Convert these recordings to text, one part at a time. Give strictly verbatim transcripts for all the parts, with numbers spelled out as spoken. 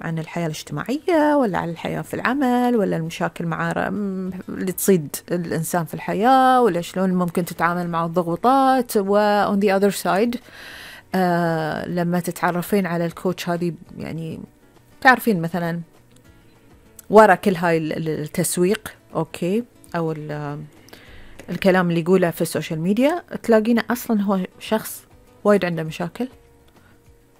عن الحياة الاجتماعية ولا عن الحياة في العمل ولا المشاكل مع اللي تصيد الإنسان في الحياة ولا شلون ممكن تتعامل مع الضغوطات. و on the other side آه لما تتعرفين على الكوتش هذه يعني تعرفين مثلا ورا كل هاي التسويق أوكي أو الكلام اللي يقوله في السوشيال ميديا تلاقينه أصلا هو شخص وايد عنده مشاكل،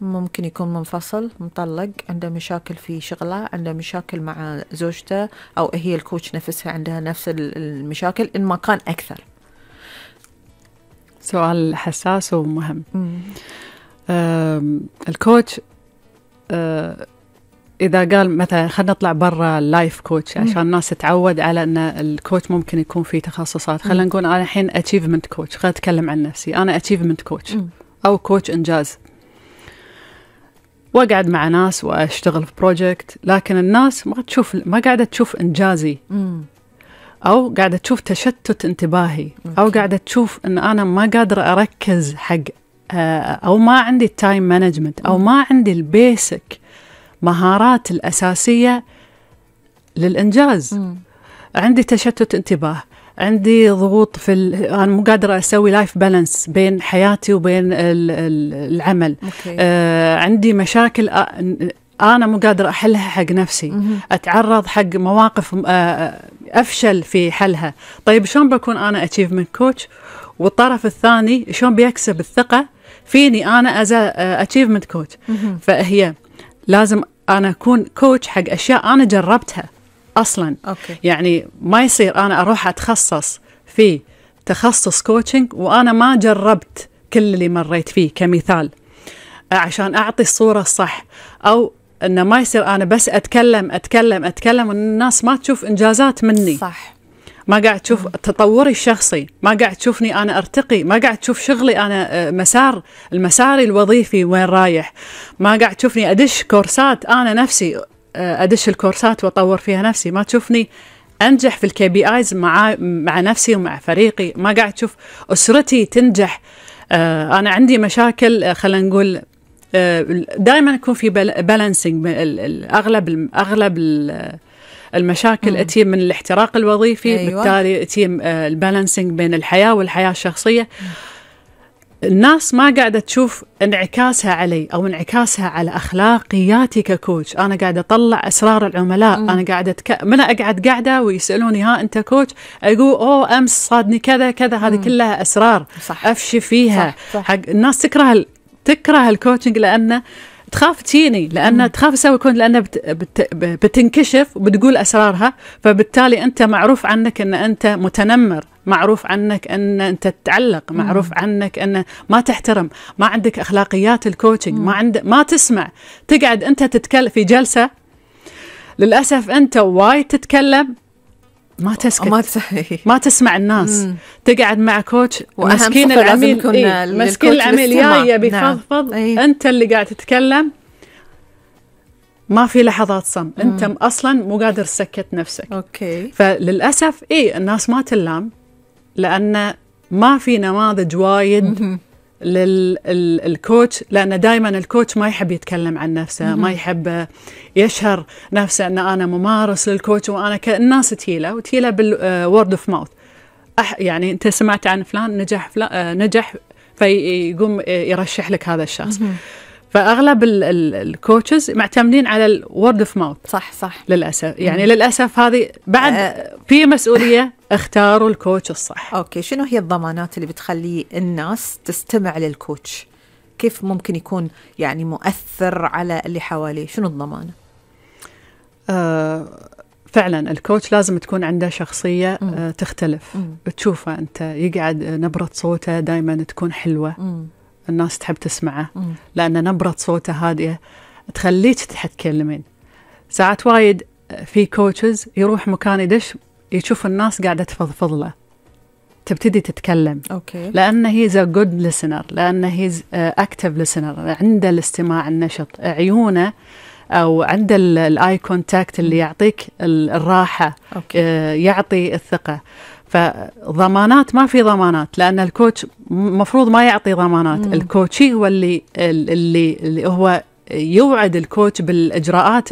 ممكن يكون منفصل مطلق، عنده مشاكل في شغله، عنده مشاكل مع زوجته، أو هي الكوتش نفسها عندها نفس المشاكل إن ما كان أكثر. سؤال حساس ومهم. الكوتش أه إذا قال مثلا خلينا نطلع برا اللايف كوتش عشان الناس تتعود على أن الكوتش ممكن يكون فيه تخصصات. خلينا نقول أنا الحين achievement كوتش، خلينا أتكلم عن نفسي، أنا achievement كوتش أو كوتش إنجاز، وأقعد مع ناس وأشتغل في بروجكت، لكن الناس ما تشوف، ما قاعدة تشوف إنجازي أو قاعدة تشوف تشتت انتباهي أو قاعدة تشوف أن أنا ما قادرة أركز حق أو ما عندي التايم مانجمنت أو ما عندي البيسك مهارات الأساسية للإنجاز. م. عندي تشتت انتباه، عندي ضغوط في ال... أنا مو قادرة أسوي لايف بالانس بين حياتي وبين ال... العمل. آه، عندي مشاكل أنا مو قادرة أحلها حق نفسي. م. أتعرض حق مواقف آه أفشل في حلها. طيب شلون بكون أنا achievement coach والطرف الثاني شلون بيكسب الثقة فيني أنا as a achievement coach؟ م. فهي لازم أنا أكون كوتش حق أشياء أنا جربتها أصلاً. أوكي. يعني ما يصير أنا أروح أتخصص في تخصص كوتشنج وأنا ما جربت كل اللي مريت فيه كمثال عشان أعطي الصورة الصح، أو أنه ما يصير أنا بس أتكلم أتكلم أتكلم والناس ما تشوف إنجازات مني. صح. ما قاعد تشوف تطوري الشخصي، ما قاعد تشوفني أنا أرتقي، ما قاعد تشوف شغلي أنا مسار المساري الوظيفي وين رايح، ما قاعد تشوفني أدش كورسات أنا نفسي أدش الكورسات وأطور فيها نفسي، ما تشوفني أنجح في الكي بي آيز مع مع نفسي ومع فريقي، ما قاعد تشوف أسرتي تنجح. أنا عندي مشاكل، خلينا نقول دائما يكون في بالانسنج، أغلب أغلب المشاكل أتي من الاحتراق الوظيفي. أيوة. بالتالي أتي البالانسنج بين الحياة والحياة الشخصية. الناس ما قاعدة تشوف انعكاسها علي أو انعكاسها على أخلاقياتي ككوتش. أنا قاعدة أطلع أسرار العملاء. م. أنا قاعدة تك... من أقعد قاعدة ويسألوني ها أنت كوتش، أقول أوه أمس صادني كذا كذا، هذه كلها أسرار. صح. أفشي فيها. صح. صح. حق الناس تكره ال... تكره الكوتشنج لأنه تخاف تجيني، لأن تخاف تسوي كون، لأن بت بت بتنكشف وبتقول أسرارها، فبالتالي أنت معروف عنك أن أنت متنمر، معروف عنك أن أنت تتعلق، معروف مم. عنك أن ما تحترم، ما عندك أخلاقيات الكوتشنج، ما عند ما تسمع. تقعد أنت تتكلم في جلسة، للأسف أنت وايد تتكلم ما تسكت، ما, ما تسمع الناس. مم. تقعد مع كوتش مسكين العميل، إيه؟ مسكين العميل يا بيفضفض. نعم. أيه. أنت اللي قاعد تتكلم، ما في لحظات صمت، أنت أصلا مو قادر تسكت نفسك. أوكي. فللأسف إيه الناس ما تلام، لأن ما في نماذج وايد للكوتش، لأن دائما الكوتش ما يحب يتكلم عن نفسه، ما يحب يشهر نفسه أن أنا ممارس للكوتش وأنا كالناس تهيله وتهيله بالورد اوف ماوث. يعني أنت سمعت عن فلان نجح، فلان نجح فيقوم يرشح لك هذا الشخص. فأغلب الكوتشز معتمدين على الورد اوف ماوث. صح صح. للأسف يعني للأسف هذه بعد أه في مسؤولية. اختاروا الكوتش الصح. أوكي. شنو هي الضمانات اللي بتخلي الناس تستمع للكوتش؟ كيف ممكن يكون يعني مؤثر على اللي حواليه؟ شنو الضمانة؟ آه فعلا الكوتش لازم تكون عنده شخصية آه تختلف. مم. تشوفه أنت يقعد نبرة صوته دايما تكون حلوة. مم. الناس تحب تسمعه. مم. لأن نبرة صوته هادئة تخليك تتكلمين. ساعات وايد في كوتشز يروح مكان يدش يشوف الناس قاعدة تفضفض له، تبتدي تتكلم. أوكي. لأنه هي a good listener، لأنه هي active listener، عنده الاستماع النشط، عيونه أو عنده الآي كونتاكت اللي يعطيك الراحة. أوكي. يعطي الثقة. فضمانات ما في ضمانات، لأن الكوتش مفروض ما يعطي ضمانات. مم. الكوتشي هو اللي اللي اللي هو يوعد الكوتش بالإجراءات